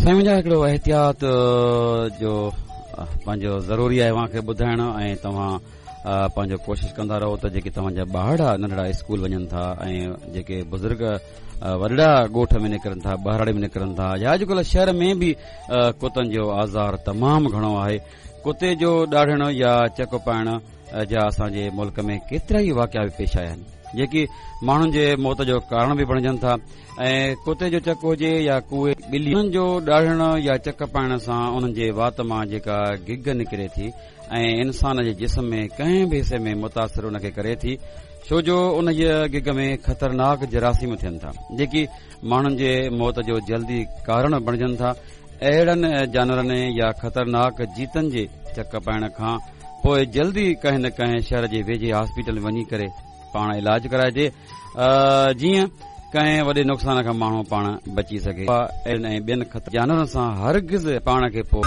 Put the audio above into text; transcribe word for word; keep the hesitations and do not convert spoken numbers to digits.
سائين منهنجا، هڪڙو احتياط جو پنهنجو ضروري آهي اوهان کي ٻڌائڻ، ۽ توهان پنهنجو ڪوشش ڪندا رهو ته جيڪي توهان جا ٻارڙا ننڍڙا اسڪول وڃن ٿا ۽ جيڪي بزرگ وڏڙا ڳوٺ ۾ نڪرن ٿا، ٻهراڙي ۾ نڪرن ٿا، يا اڄڪلهه شهر ۾ به ڪتن جو آزار تمام گهڻو آهي. ڪتي جو ڏاڙهڻ يا چڪ پائڻ جا اسان جي ملڪ ۾ ڪيترا ئي واقعا به پيش آيا آهن، جيڪي ماڻهن جي موت جو ڪارڻ به بڻجن ٿا. ۽ ڪتي جو چڪ هجي يا ڪوئي ٻلي، انهن جو ڏاڙهڻ يا چڪ پائڻ سان انهن جي وات مان جيڪا گگ نڪري ٿي ۽ انسان جي جسم ۾ ڪنهن به حصي ۾ متاثر ان کي ڪري ٿي، ڇو جو انهيء گگ ۾ خطرناڪ جراثيم ٿين ٿا، جيڪي ماڻهن جي موت جو جلدي ڪارڻ بڻجن ٿا. اهڙن جانورن يا خطرناڪ جيتن جي چڪ پائڻ کان پوء جلدي ڪنهن نه ڪنهن شهر جي ويجهي هاسپيٽل وڃي ڪري پاڻ علاج ڪرائجي، جيئن ڪنهن وڏي نقصان کان ماڻهو پاڻ بچي سگهي. اهڙن ۽ ٻين خطرناڪ جانورن سان هرگز پاڻ کي پوء